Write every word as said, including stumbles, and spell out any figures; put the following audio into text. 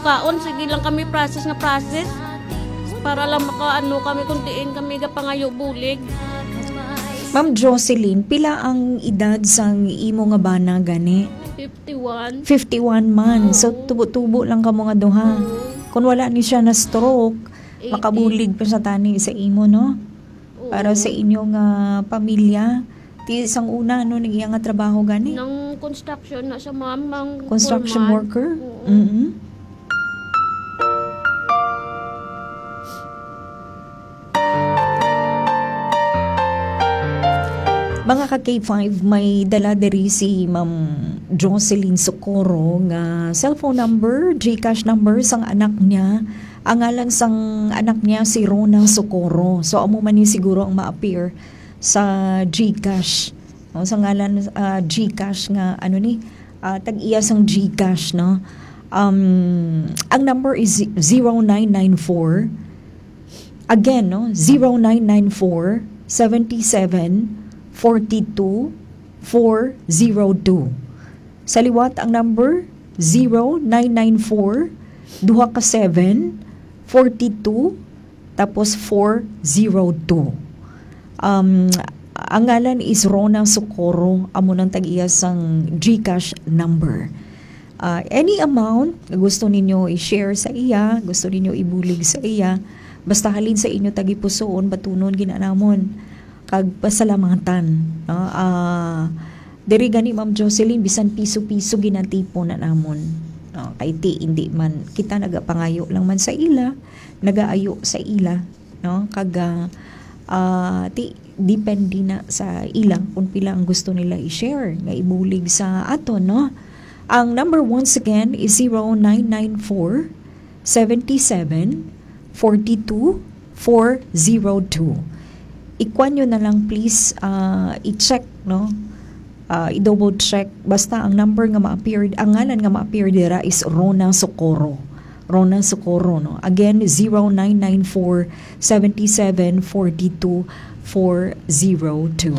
Kaon, sige lang kami process nga process. Para lang makaano kami kung diin kami gapangayo bulig. Ma'am Jocelyn, pila ang edad sang imo nga bana gani? Fifty-one. Fifty-one man. So, Oo. Tubo-tubo lang kamo nga duha. Oo. Kung wala ni siya na stroke, Eighty. Makabulig pa sa tani sa imo, no? Oo. Para sa inyo nga pamilya. Ti sang una, ano, nag-iya nga trabaho gani? Nang construction na siya, ma'am, ang Construction foreman. Worker? Oo. Mm-mm. Mga ka K five, may dala diri si Ma'am Jocelyn Socorro nga cellphone number, GCash number sang anak niya. Ang ngalan sang anak niya si Rona Socorro. So, amo man ni siguro ang ma-appear sa GCash. No, sa ngalan, ah, GCash nga, ano ni, ah, tag-iya sang GCash, no? Um, ang number is zero nine nine four. Again, no? Zero nine nine four, seven seven, forty-two, four zero two. Sa liwat ang number, zero nine nine four, duha ka seven, forty-two, tapos four zero two. Um, ang ngalan is Rona Socorro, amo nang tag-iya sang GCash number. Ah, any amount nga gusto ninyo i-share sa iya, gusto ninyo ibulig sa iya, basta halin sa inyo tagipusoon, batunon gid na namon kag pasalamatan, no? Ah, diri gani, Ma'am Jocelyn, bisan piso-piso ginatipon na namon. No? Kay ti, hindi man, kita nagapangayo lang man sa ila, nagaayo sa ila, no? Kag, ah, ah, ti, depende na sa ila kung pila ang gusto nila i-share nga ibulig sa aton, no? Ang number once again is zero nine nine four, seven seven, forty-two, four zero two. Ikuan nyo na lang, please, ah, i-check, no? Ah, i-double check. Basta ang number nga ma-appear, ang ngalan nga ma-appear dira is Rona Socorro. Rona Socorro, no? Again, zero nine nine four, seven seven, forty-two, four zero two.